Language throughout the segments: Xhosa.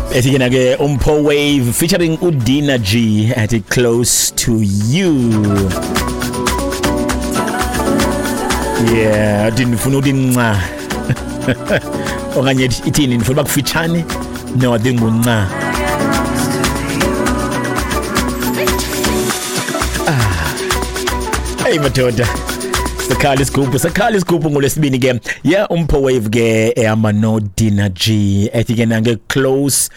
Ethi ke ke uMpho Wave featuring uDina G at Close to You. Yeah, athi ndifuna ukuthi nca. Okanye ithini, ndifuna uba kufitshane? No, I think ngunca. Ah. Hey madoda. Sakhala isigubhu, sakhala isigubhu ngolwesibini ke. Yeah, uMpho Wave ke ehamba no Dina G. Ethi ke nange Close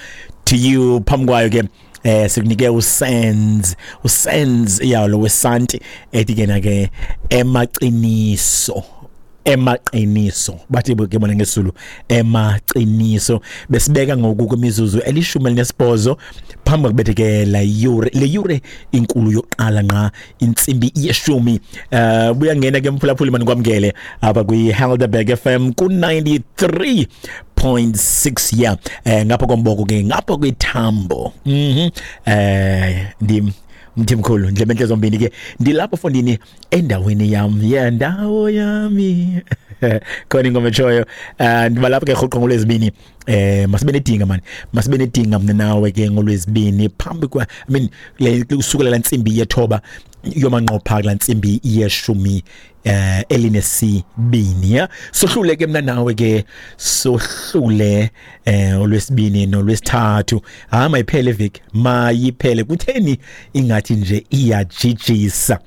to You. Phambi kwayo ke sikunike uSenz, uSenz yawo wesanti, ethi ke nake emaqiniso, emaqiniso bathi ke bona ngesulu emaqiniso. Besibeka ngoku kwimizuzu 18 phambi kokubethe ke la yure, le yure inkulu yokuqala nqa intsimbi yeshumi. Buya ngena ke mphulaphuli, manikwamkele apha kwi Helderberg FM ku 93.6, yeah, ngapha komboko ke, ngapha kwithambo. Ndim Mthimkhulu, ndlebe zombini ke, ndilapho fondini endaweni yam, yeah, ndawo yami, khona ingoma etshoyo. Ndiba lapho ke rhoqo ngolwezibini. Masibe nedinga man, masibe nedinga mna nawe ke ngolwezibini phambi kwa, I mean, le usukela la ntsimbi yethoba yomanqopha kula ntsimbi yeshumi elinesibini, ya. Sohlule ke mna nawe ke, sohlule olwesibini nolwesithathu. Hayi, mayiphele iveki, mayiphele. Kutheni ingathi nje iyajijisa?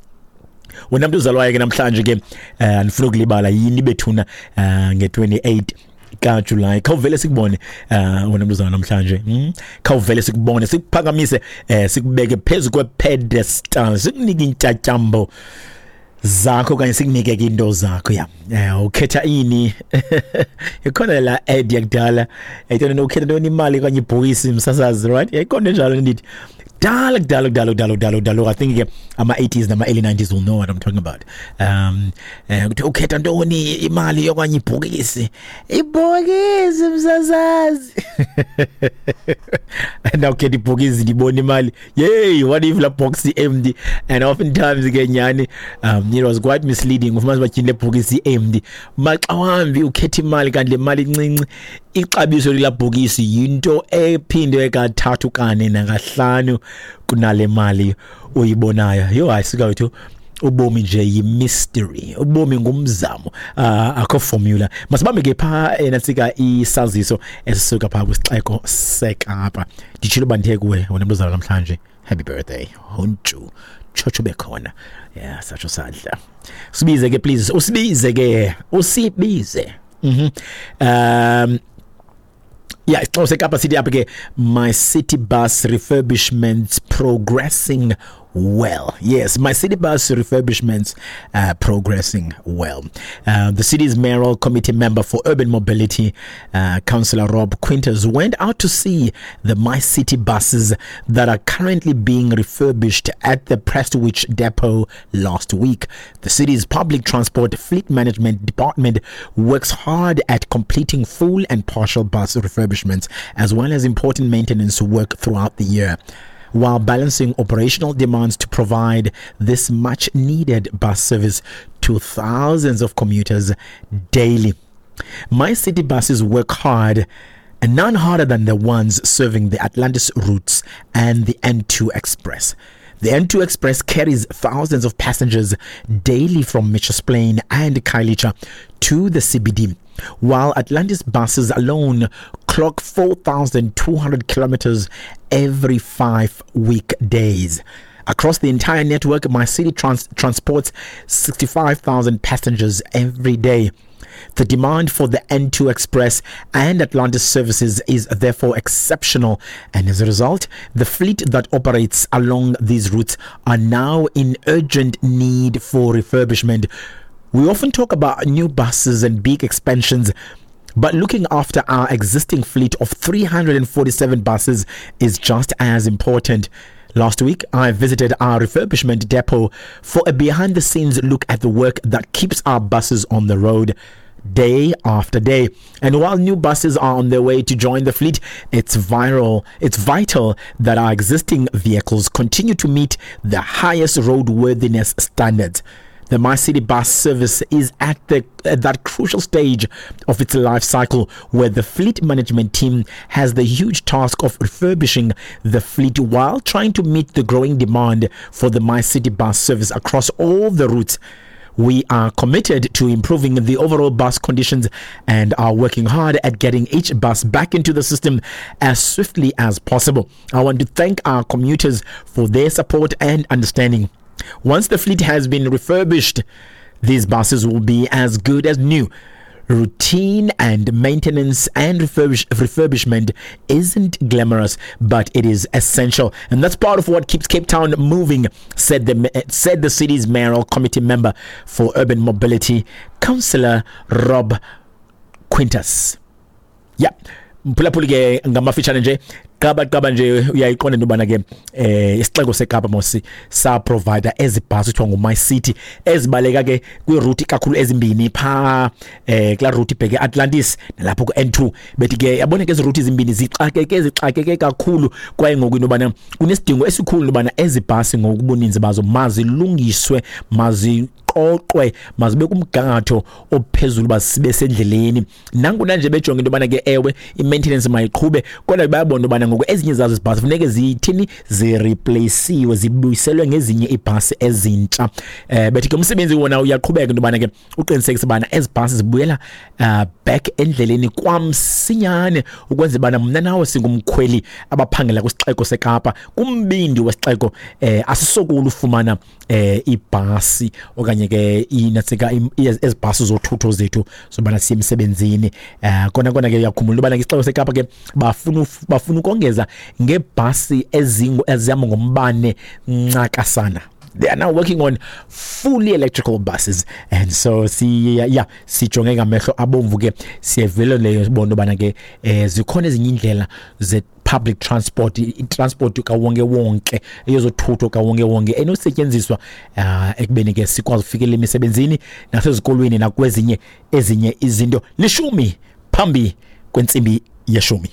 Wena mntu uzalwayo ke namhlanje ke, andifuna ukulibala yini bethuna, nge-28 kaJuly, khawuvele sikubone. Wena mntu uzalwa namhlanje, Khawuvele sikubone, sikuphakamise, sikubeke phezu kwe-pedestal, sikunike intyatyambo zakho okanye sikunike ke into zakho, ya. Ukhetha ini? Ikhona la ad yakudala ayitona, ukhetha ntoni, imali okanye ibhokisi, msasazi, right? Yayikhona enjalo, ndithi kudala kudala kudala kudala kudala kudala. I think ke ama-80s nama-early 90s will know what I'm talking about. Kuthi ukhetha ntoni, imali okanye ibhokisi? Ibhokisi, msasazi. And awukhetha ibhokisi, ndibona imali. Yey, what if la box empty? And oftentimes ke nyani, it was quite misleading. Ufumanisa uba tyhini, le bhokisi empty. Maxa wambi ukhetha imali, kanti le mali incinci, ixabiso lela bhokisi yinto ephindwe kathathu, kane nakahlanu kunale mali uyibonayo. Yho, hayi sika wethu, ubomi nje yi-mystery, ubomi ngumzamo, akho formula. Masibambe ke phaa enantsika isaziso esisuka phaa kwisixeko seKapa. Nditshilo uba ndithe kuwe wena mntu uzalwa namhlanje, happy birthday, hontshu tshotsho bekhona, yeah, satsho sadla. Sibize ke please, usibize ke, usibize. Yeah, isixeko seKapa sithi apha ke, MyCiTi bus refurbishments progressing well. Yes, MyCiTi bus refurbishments progressing well. The city's mayoral committee member for urban mobility, Councillor Rob Quinters, went out to see the MyCiTi buses that are currently being refurbished at the Prestwich depot last week. The city's public transport fleet management department works hard at completing full and partial bus refurbishments, as well as important maintenance work throughout the year, while balancing operational demands to provide this much needed bus service to thousands of commuters daily. MyCiTi buses work hard, and none harder than the ones serving the Atlantis routes and the N2 Express. The N2 Express carries thousands of passengers daily from Mitchells Plain and Khayelitsha to the CBD, while Atlantis buses alone clock 4,200 kilometers every 5 weekdays. Across the entire network, MyCiTi transports 65,000 passengers every day. The demand for the N2 Express and Atlantis services is therefore exceptional, and as a result, the fleet that operates along these routes are now in urgent need for refurbishment. We often talk about new buses and big expansions, but looking after our existing fleet of 347 buses is just as important. Last week, I visited our refurbishment depot for a behind the scenes look at the work that keeps our buses on the road day after day. And while new buses are on their way to join the fleet, it's vital that our existing vehicles continue to meet the highest roadworthiness standards. The MyCiTi bus service is at that crucial stage of its life cycle where the fleet management team has the huge task of refurbishing the fleet while trying to meet the growing demand for the MyCiTi bus service across all the routes. We are committed to improving the overall bus conditions and are working hard at getting each bus back into the system as swiftly as possible. I want to thank our commuters for their support and understanding. Once the fleet has been refurbished, these buses will be as good as new. Routine and maintenance and refurbishment isn't glamorous, but it is essential. And that's part of what keeps Cape Town moving, said the city's mayoral committee member for urban mobility, Councillor Rob Quintas. Yeah. Mphulaphuli ke, ngamafitshane nje, qaba qaba nje, uyayiqonda into yobana ke isixeko seKapa mosi sa provide ezi bhasi kuthiwa nguMyCiTi, ezibaleka ke kwiroute kakhulu ezimbini phaa kulaa route ibheke Atlantis nalapho ku-N2. Bethi ke yabona ke ezi route zimbini zixakeke kakhulu, kwaye ngoku into yobana kunesidingo esikhulu into yobana ezi bhasi ngokubuninzi bazo mazilungiswe, maziqoqwe, mazibe kumgangatho ophezulu uba sibe sendleleni. Nangona nje bejonge into yobana ke ewe, i-maintenance mayiqhube, kodwa bayabona into yobana ngoku ezinye zazo izibhasi funeke zithini, zireplaceiwe, zibuyiselwe ngezinye iibhasi ezintsha. Bethi ke umsebenzi wona uyaqhubeka into yobana ke uqinisekise bana ezi bhasi zibuyela back endleleni kwamsinyane, ukwenzela bana mna nawe singumkhweli abaphangela kwisixeko seKapa, kumbindi wesixeko, asisokulu ufumana ibhasi okanye ke inatsika ezi bhasi zothutho zethu zobana siye emsebenzini. Kona ke uyakhumbula into yobana ke isixeko seKapa ke bafuna ukongeza ngeebhasi ezihamba ngombane ncakasana. They are now working on fully electrical buses, and so si yeah, sijonge ngamehlo abomvu ke, siyevele leyo sibona ubana ke zikhona ezinye indlela ze public transport, i-transport kawonke wonke, eyozothutho kawonke wonke enosetyenziswa ekubeni ke sikwazi ufikelela emisebenzini nasezikolweni nakwezinye ezinye izinto. 10:10.